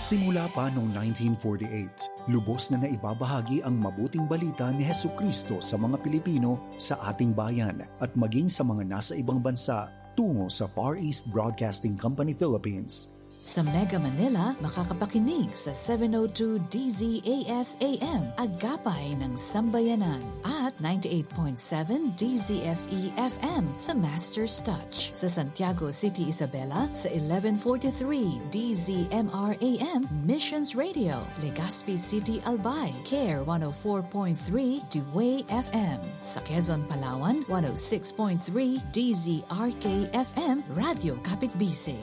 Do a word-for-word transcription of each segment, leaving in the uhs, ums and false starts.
Simula pa noong nineteen forty-eight, lubos na naibabahagi ang mabuting balita ni Jesucristo sa mga Pilipino sa ating bayan at maging sa mga nasa ibang bansa tungo sa Far East Broadcasting Company Philippines. Sa Mega Manila, makakapakinig sa seven oh two D Z A S A M, Agapay ng Sambayanan, at ninety-eight point seven D Z F E F M, The Master's Touch. Sa Santiago City, Isabela, sa eleven forty-three D Z M R A M, Missions Radio. Legazpi City, Albay, Care one oh four point three D W A Y F M. Sa Quezon, Palawan, one oh six point three D Z R K F M, Radyo Kapitbisig.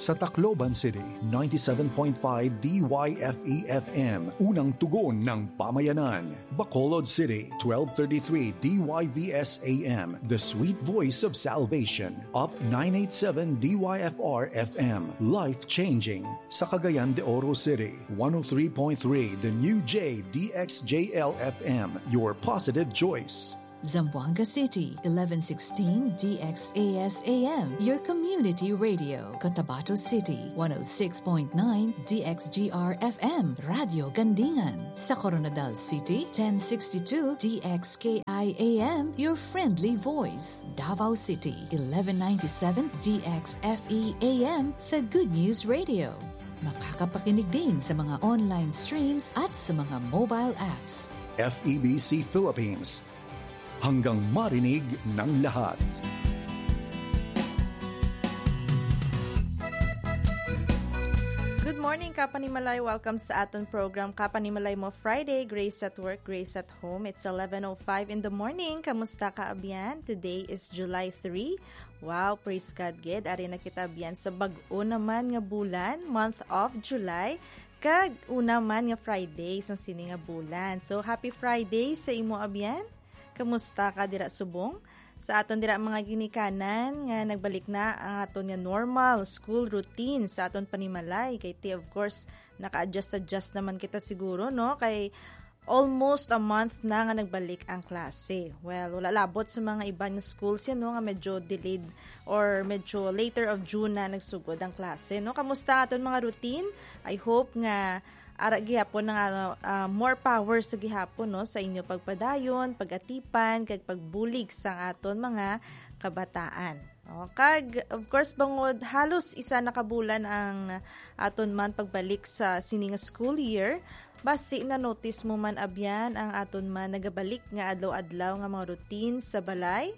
Sa Tacloban City, ninety-seven point five D Y F E F M, unang tugon ng pamayanan. Bacolod City, twelve thirty-three D Y V S A M, the sweet voice of salvation. Up nine eighty-seven D Y F R F M, life-changing. Sa Cagayan de Oro City, one oh three point three The New J D X J L F M, your positive choice. Zamboanga City, eleven sixteen D X A S A M, your community radio. Cotabato City, one oh six point nine D X G R F M, Radyo Gandingan. Sa Koronadal City, ten sixty-two D X K I A M, your friendly voice. Davao City, eleven ninety-seven D X F E A M, the Good News Radio. Makakapakinig din sa mga online streams at sa mga mobile apps. F E B C Philippines, hanggang marinig ng lahat. Good morning, Kapanimalay. Welcome sa aton program, Kapanimalay Mo Friday, Grace at Work, Grace at Home. It's eleven oh five in the morning. Kamusta ka, abyan? Today is July three. Wow, praise God, gid. Ari na kita, abyan, sa bag-o naman nga bulan, month of July. Kag una man nga Friday sang sini nga bulan. So, happy Friday sa imo, abyan. Kamusta ka dira subong? Sa aton dira mga ginikanan nga nagbalik na ang aton nga normal school routine sa aton panimalay. Kay ti, of course, naka-adjust-adjust naman kita siguro, no? Kay almost a month na nga nagbalik ang klase. Well, wala labot sa mga iban nga schools yan, no, nga medyo delayed or medyo later of June na nagsugod ang klase, no? Kamusta aton mga routine? I hope nga ara gihapon nga, ah, more power sa gihapon, no, sa inyo pagpadayon, pag-atipan, kag pagbulig sa aton mga kabataan. O, kag, of course, bangod halos isa na ka bulan ang aton man pagbalik sa sini nga school year, basi na-notice mo man, abyan, ang aton man nagabalik nga adlaw-adlaw nga mga routine sa balay.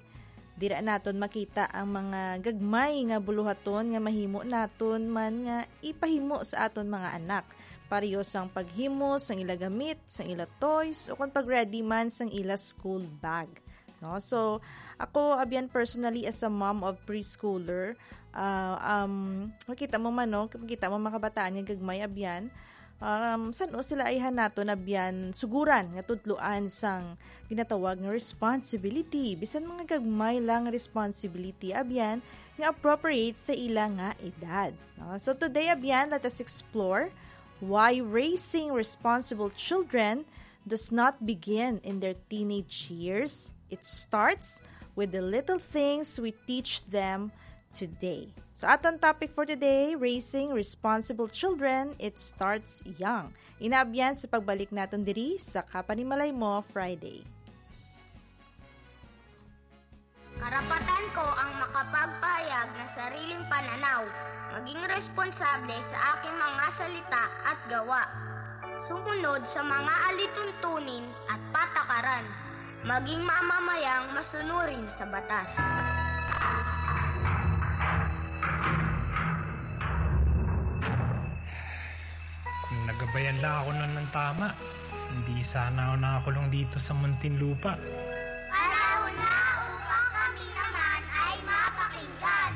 Dira naton makita ang mga gagmay nga buluhaton nga mahimo naton man nga ipahimo sa aton mga anak, pareho sang paghimo sang ila gamit, sang ila toys, o kon pag-ready man sang ila school bag. No? So, ako, abyan, personally, as a mom of preschooler, ah, um, makita mo man, no? Makita mo mga kabataan nga gagmay, abyan, um, san-o sila ayhan naton, abyan, suguran nga tudloan sang ginatawag nga responsibility. Bisan mga gagmay lang nga responsibility, abyan, nga appropriate sa ila nga edad. No? So, today, abyan, let us explore why raising responsible children does not begin in their teenage years. It starts with the little things we teach them today. So, aton topic for today, raising responsible children, it starts young. Ina, abyan, sa pagbalik naton diri sa Kapanimalay Mo Friday. Karapatan ko ang makapagpahayag ng sariling pananaw, maging responsable sa aking mga salita at gawa, sumunod sa mga alituntunin at patakaran, maging mamamayang masunurin sa batas. Kung nagabayan lang ako nun ng tama, hindi sana ako nakakulong dito sa Muntinlupa. Panahon na upang kami naman ay mapakinggan.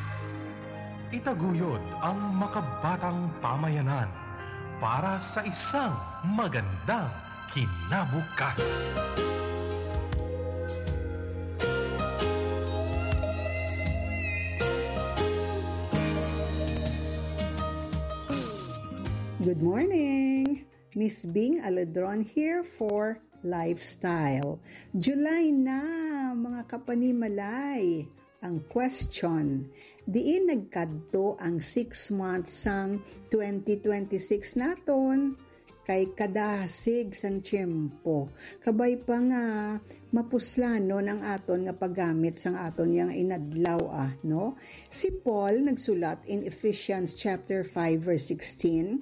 Itaguyod ang makabatang pamayanan para sa isang magandang kinabukasan. Good morning! Miss Bing Aladron here for Lifestyle. July na, mga kapanimalay. Ang question, Diin nagkadto ang six months sang twenty twenty-six naton? Kay kadasig sang tiyempo. Kabay pa nga mapuslanon ang aton nga paggamit sang aton yang inadlaw, ah, no? Si Paul nagsulat in Ephesians chapter five, verse sixteen,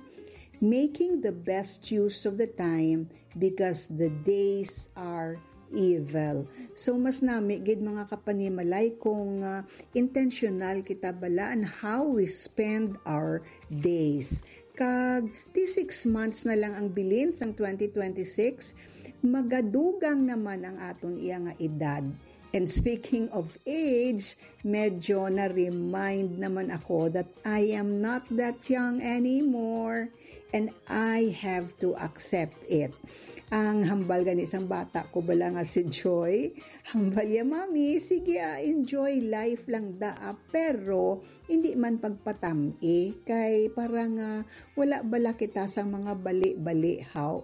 "Making the best use of the time because the days are evil." So, mas nami gid, mga kapanimalay, kung, ah, intentional kita bala on how we spend our days. Kag ti six months na lang ang bilin sang twenty twenty-six, magadugang naman ang aton iya nga edad. And speaking of age, medyo na-remind naman ako that I am not that young anymore, and I have to accept it. Ang hambal gani sang bata ko bala nga si Joy, hambal ya, "Mami, sige, ah, enjoy life lang da, ah, pero hindi man pagpatam-i, kay para nga wala bala kita sa mga bali-bali, haw."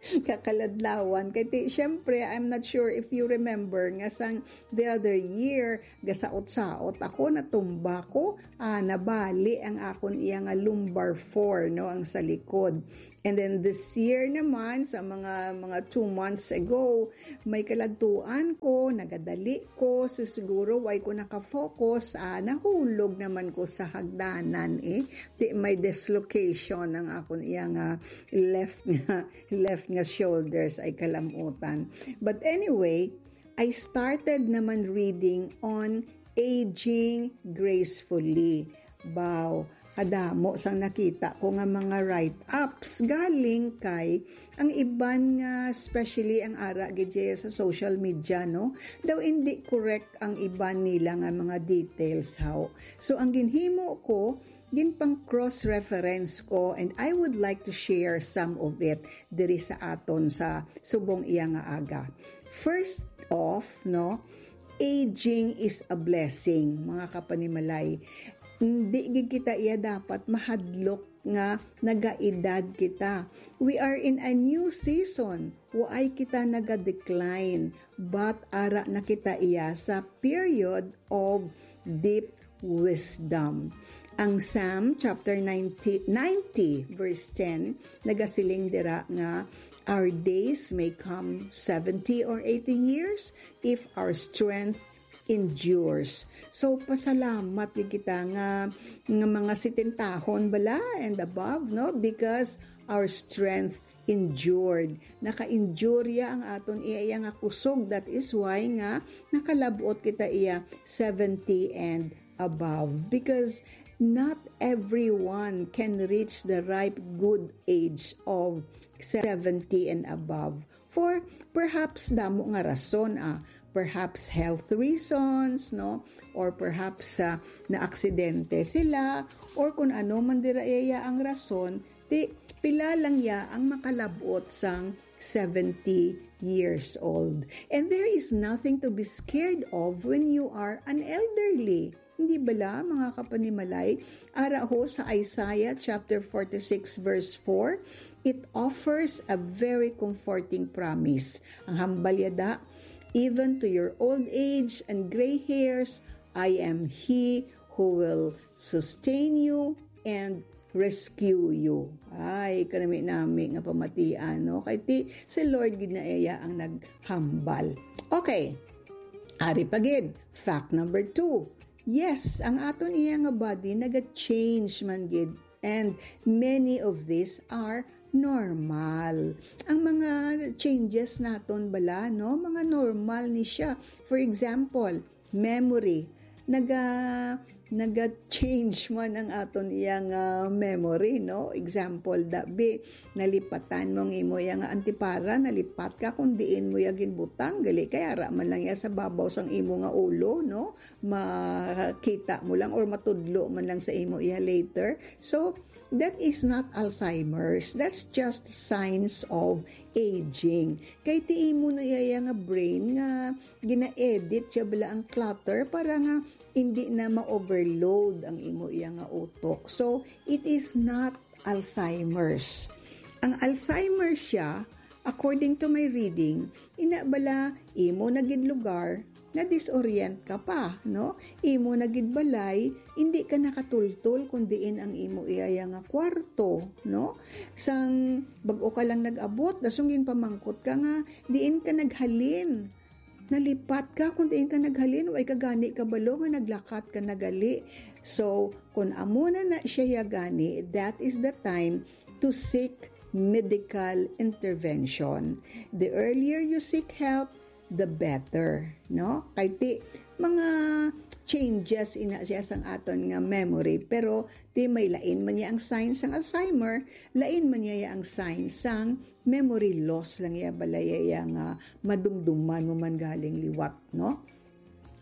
Kakaladlawan. Kay ti, syempre, I'm not sure if you remember nga sang the other year, gasaot-saot ako, natumba ko, ah, nabali ang akon iya nga lumbar four, no, ang sa likod. And then this year naman, sa mga, mga two months ago, may kaladtuan ko, nagadali ko, so siguro why ko nakafocus, ah, nahulog naman ko sa hagdanan, eh. Ti, may dislocation ang akon iya nga left nga, left nga shoulders, ay kalamutan. But anyway, I started naman reading on aging gracefully. Baw, kadamo sang nakita ko nga mga write-ups galing kay ang iban nga, especially ang ara gid sa social media, no? Daw hindi correct ang iban nila nga mga details, haw. So, ang ginhimo ko, ginpang cross-reference ko, and I would like to share some of it diri sa aton sa subong iya nga aga. First off, no, aging is a blessing, mga kapanimalay. Hindi gid kita iya dapat mahadlok nga nagaedad kita. We are in a new season. Waay kita naga-decline, but ara na kita iya sa period of deep wisdom. Ang Psalm chapter ninety, ninety, verse ten, nagasiling dira nga, "Our days may come seventy or eighty years if our strength endures." So, pasalamat gid kita nga, nga mga sitintahon bala and above, no? Because our strength endured. Naka-endure ya ang aton iya, iya nga kusog. That is why nga nakalab-ot kita iya seventy and above. Because not everyone can reach the ripe good age of seventy and above. For perhaps damo nga rason, ah. Perhaps health reasons, no? Or perhaps, ah, naaksidente sila, or kung ano man dira iya ang rason, ti pila lang ya ang makalab-ot sang seventy years old. And there is nothing to be scared of when you are an elderly. Hindi bala, mga kapanimalay? Ara ho sa Isaiah chapter forty-six, verse four, it offers a very comforting promise. Ang hambal yada, "Even to your old age and gray hairs, I am He who will sustain you and rescue you." Ay, kanami-nami nga pamatian, no? Kay ti, si Lord gid na iya ang naghambal. Okay. Ari pa gid, fact number two. Yes, ang aton iya nga body naga-change man gid. And many of these are normal. Ang mga changes naton bala, no? Mga normal ni siya. For example, memory. Naga, naga-change man ang aton iya nga memory, no? Example, dabi, nalipatan mo ang imo iya nga antipara, nalipat ka kung diin mo iya ginbutang, gali kay ara man lang iya sa babaw sang imo nga ulo, no? Makita mo lang or matudlo man lang sa imo iya later. So, that is not Alzheimer's. That's just signs of aging. Kay ti imo na iya nga brain nga gina-edit siya bala ang clutter para nga hindi na ma-overload ang imo iya nga utok. So, it is not Alzheimer's. Ang Alzheimer's siya, according to my reading, ina bala imo na gid lugar na-disorient ka pa, no? Imo na gid balay, hindi ka nakatultol kung diin ang imo iyaya nga kwarto, no? Sang bag-o ka lang nag-abot, dasong ginpamangkot ka nga, diin ka naghalin? Nalipat ka kung diin ka naghalin, way ka gani kabalo nga naglakat ka nagali. So, kung amo na na siya ya gani, that is the time to seek medical intervention. The earlier you seek help, the better, no? Kay ti, mga changes ina siya sang aton nga memory, pero ti may lain man niya ang signs sang Alzheimer, lain man niya ang signs sang memory loss lang iya balay iya nga madumduman mo man galing liwat, no?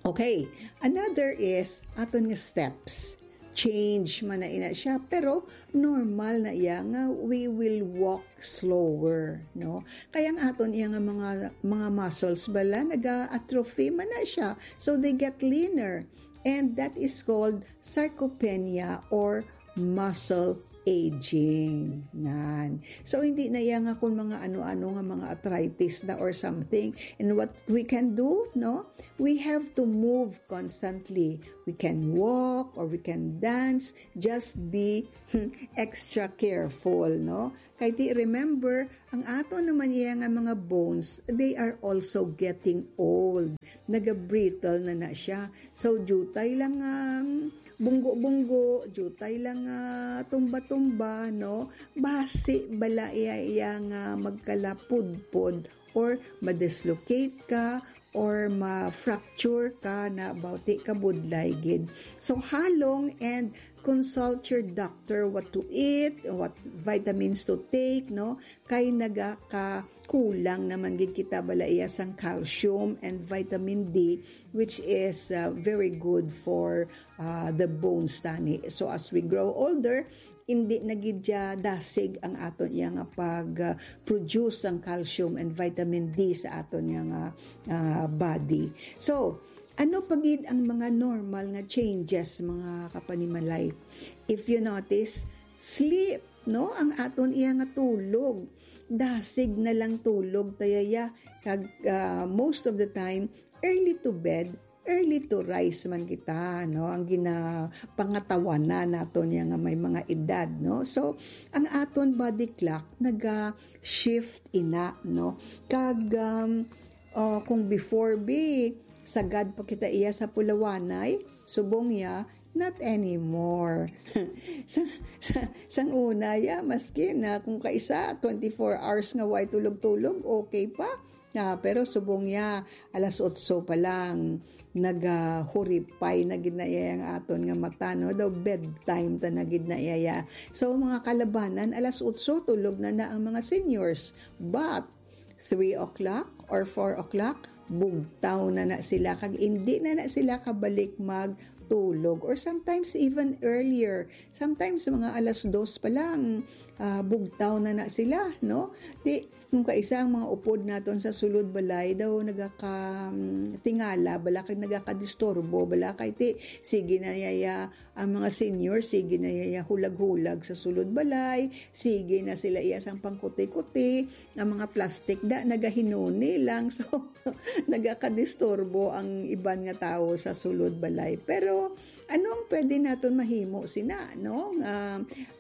Okay, another is aton nga steps. Change man na ina siya, pero normal na iya nga we will walk slower, no? Kaya ang aton iya nga mga, mga muscles bala naga-atrophy man na siya. So they get leaner. And that is called sarcopenia or muscle aging. Nan. So, hindi na iya nga kung mga ano-ano nga mga arthritis na or something. And what we can do, no? We have to move constantly. We can walk or we can dance. Just be extra careful, no? Kay ti, remember, ang ato naman iya nga mga bones, they are also getting old. Naga-brittle na na siya. So, jutay lang, um, bunggo-bunggo, jutay lang, ah, tumba-tumba, no? Basi bala iya, iya nga magkalapudpod or ma-dislocate ka or ma-fracture ka na bauti ka budlay gid. So, halong and consult your doctor what to eat, what vitamins to take, no? Kay nagakakulang naman gid kita bala iya sang calcium and vitamin D, which is, uh, very good for, uh, the bones tani. So, as we grow older, hindi na gid siya dasig ang aton iya nga pag, uh, produce sang calcium and vitamin D sa aton iya nga, uh, body. So, ano pa gid ang mga normal nga changes, mga kapanimalay? If you notice, sleep, no? Ang aton iya nga tulog. Dasig na lang tulog ta yaya. Kag, uh, most of the time, early to bed, early to rise man kita, no? Ang ginapangatawanan naton iya nga may mga edad, no? So, ang aton body clock naga-shift ina, no? Kag, um, uh, kung before, be, sagad pa kita iya sa pulawanay, subong iya, not anymore. Sa, sa, sang una, ya, maski na kung kaisa, twenty-four hours nga way tulog-tulog, okay pa. Ah, pero subong niya, alas otso pa lang, nagahuripay na gid na iya ang aton nga mata, no? Daw bedtime ta na gid na iya. So, mga kalabanan, alas otso, tulog na na ang mga seniors. But, three o'clock or four o'clock, bugtaw na na sila. Kag hindi na na sila kabalik magtulog. Or sometimes even earlier. Sometimes mga alas dos pa lang, ah, bugtaw na na sila, no? Di, kung kaisa ang mga upod naton sa sulod balay daw nagaka, mm, tingala, bala kay nagakadisturbo, bala kay ti, sige na yaya, ang mga senior, sige na yaya hulag-hulag sa sulod balay, sige na sila iya sang pangkuti-kuti, ang mga plastic da, nagahinuni lang. So, nagakadisturbo ang iban nga tawo sa sulod balay. Pero, ano ang pwede naton mahimo sina, no? Nga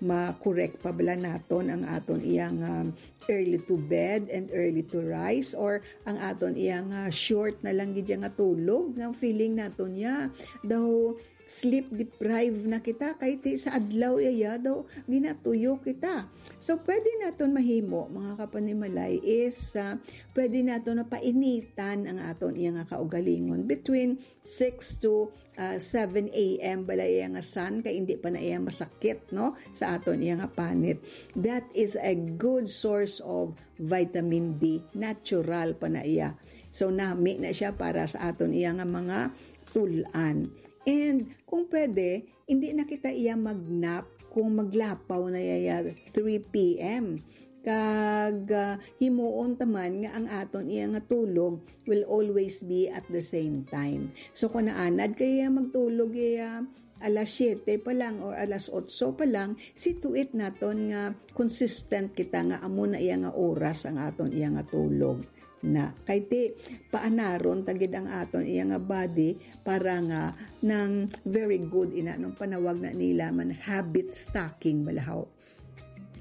ma-correct pa bala naton ang aton iyang, um, early to bed and early to rise, or ang aton iyang, uh, short na lang gid nga tulog, nga feeling naton niya daw sleep deprived na kita, kay ti sa adlaw yaya daw ginatuyo kita. So, pwede naton mahimo, mga kapanimalay, is, uh, pwede naton napainitan ang aton iya nga kaugalingon between six to, uh, seven a m bala iya nga sun, kay hindi pa na iya masakit, no, sa aton iya nga panit. That is a good source of vitamin D. Natural pa na iya. So, nami na siya para sa aton iya nga mga tul-an. And kung pwede, hindi na kita iya mag-nap kung maglapaw na iya three p m. Kag, ah, himuon ta man nga ang aton iya nga tulog will always be at the same time. So, kung naanad kay iya magtulog iya alas siyete pa lang or alas otso pa lang, situit naton nga consistent kita nga amo na iya nga oras ang aton iya nga tulog. na. Kay ti, paanaron ta gid ang aton iya nga body para nga nang very good ina nung panawag na nila man habit stacking balahaw.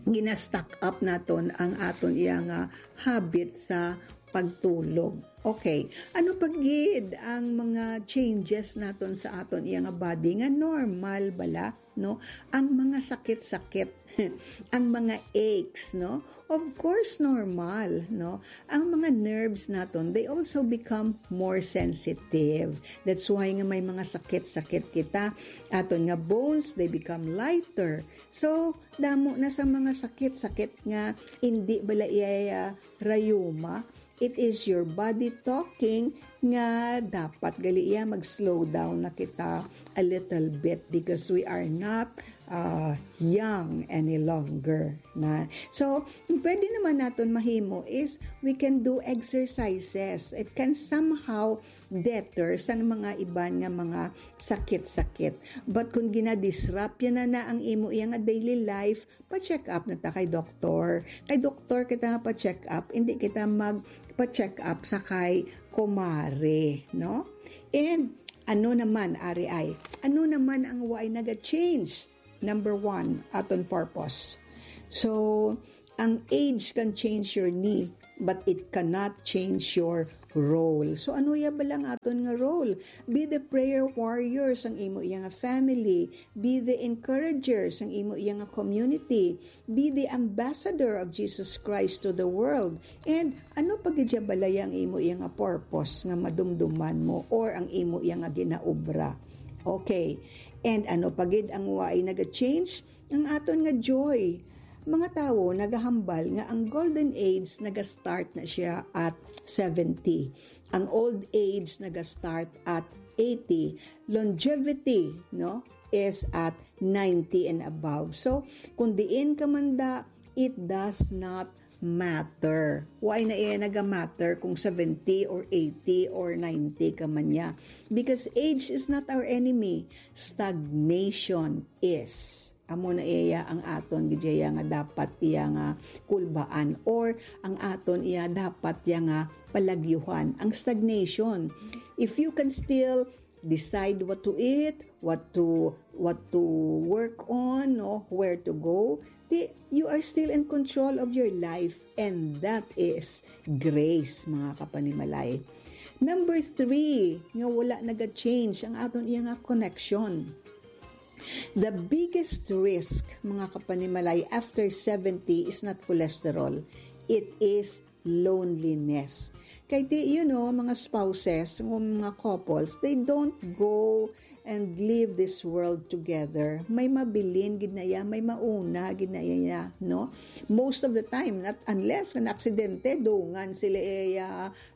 Gina-stack up naton ang aton iya nga habit sa pagtulog. Okay, ano pa gid ang mga changes naton sa aton iya nga body nga normal bala, no? Ang mga sakit-sakit, ang mga aches, no? Of course, normal, no? Ang mga nerves naton, they also become more sensitive. That's why nga may mga sakit-sakit kita. Aton nga bones, they become lighter. So, damo na sa mga sakit-sakit nga hindi bala iya rayuma. It is your body talking nga dapat gali iya mag-slow down na kita a little bit because we are not uh, young any longer na. So, pwede naman naton mahimo is we can do exercises. It can somehow deter sang mga iban nga mga sakit-sakit. But kung ginadisrupt yan na, na ang imo iya nga daily life, pa-check up na ta kay doktor. Kay doktor kita nga pa-check up, hindi kita mag pa-check up sa kay kumare, no? And ano naman, ari ay, ano naman ang way naga-change? Number one, aton purpose. So, ang age can change your knee, but it cannot change your role. So, ano ya ba lang aton nga role? Be the prayer warrior sang imo iya nga family. Be the encourager sang imo iya nga community. Be the ambassador of Jesus Christ to the world. And ano pa gid ya balaya ang imo iya nga purpose nga madumduman mo or ang imo iya nga ginaobra? Okay. And ano pa gid ang way naga-change? Ang aton nga joy. Mga tawo nagahambal nga ang golden age naga-start na siya at seventy. Ang old age naga-start at eighty. Longevity, no, is at ninety and above. So, kung diin ka man da, it does not matter. Why na iya naga-matter kung seventy or eighty or ninety ka man niya? Because age is not our enemy. Stagnation is. Amo na iya ang aton gid iya nga dapat iya nga kulbaan or ang aton iya dapat iya nga palagyuhan. Ang stagnation. If you can still decide what to eat, what to what to work on, no, where to go, di, you are still in control of your life, and that is grace, mga kapanimalay. Number three, nga wala naga-change ang aton iya nga connection. The biggest risk, mga kapanimalay, after seventy is not cholesterol. It is loneliness. Kay ti, you know, mga spouses, mga couples, they don't go and leave this world together. May mabilin gid na iya, may mauna gid na iya, no? Most of the time, not unless na aksidente, dungan sila iya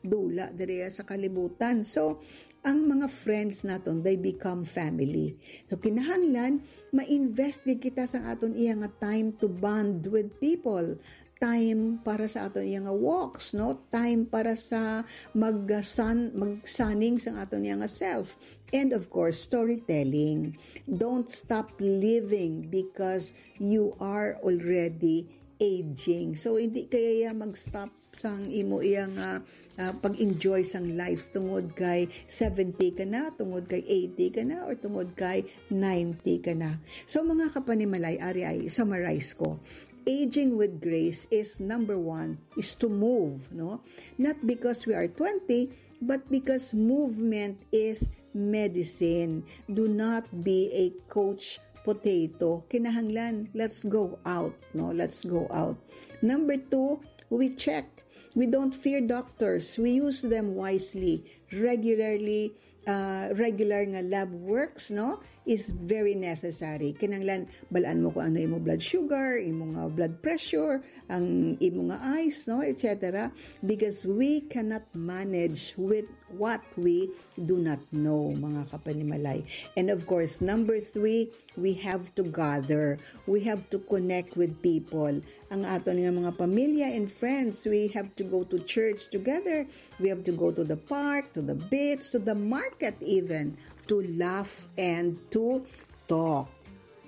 dula diri sa kalibutan. So, ang mga friends naton, they become family. So, kinahanglan, ma-invest gid kita sa aton iya nga time to bond with people. Time para sa aton iya nga walks, no? Time para sa mag-, uh, sun-, magsaning sa aton iya nga self. And of course, storytelling. Don't stop living because you are already aging. So, hindi kaya iya mag-stop sang imo iya nga, ah, pag-enjoy sang life tungod kay seventy ka na, tungod kay eighty ka na, or tungod kay ninety ka na. So, mga kapanimalay, ari ay summarize ko. Aging with grace is number one, is to move, no? Not because we are twenty, but because movement is medicine. Do not be a couch potato. Kinahanglan, let's go out, no? Let's go out. Number two, we check. We don't fear doctors. We use them wisely. Regularly, uh, regular nga lab works, no, is very necessary. Kinahanglan, balaan mo kung ano imo blood sugar, imo nga blood pressure, ang imo nga eyes, no, et cetera. Because we cannot manage with what we do not know, mga kapanimalay. And of course, number three, we have to gather. We have to connect with people. Ang aton nga mga pamilya and friends, we have to go to church together. We have to go to the park, to the beach, to the market even, to laugh and to talk.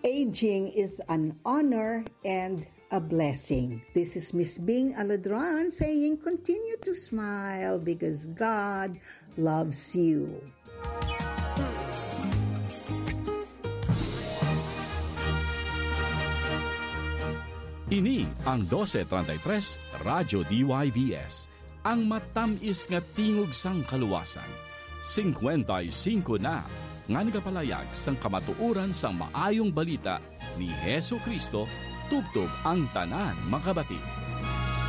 Aging is an honor and a blessing. This is Miss Bing Aladran saying, continue to smile because God loves you. Ini ang dose treinta y tres Radyo D Y V S, ang matamis nga tingog sang kaluwasan. Singkwenta y singko na nga nagapalayag sang kamatuoran sang maayong balita ni Jesu-Cristo, tubtob ang tanan makabati.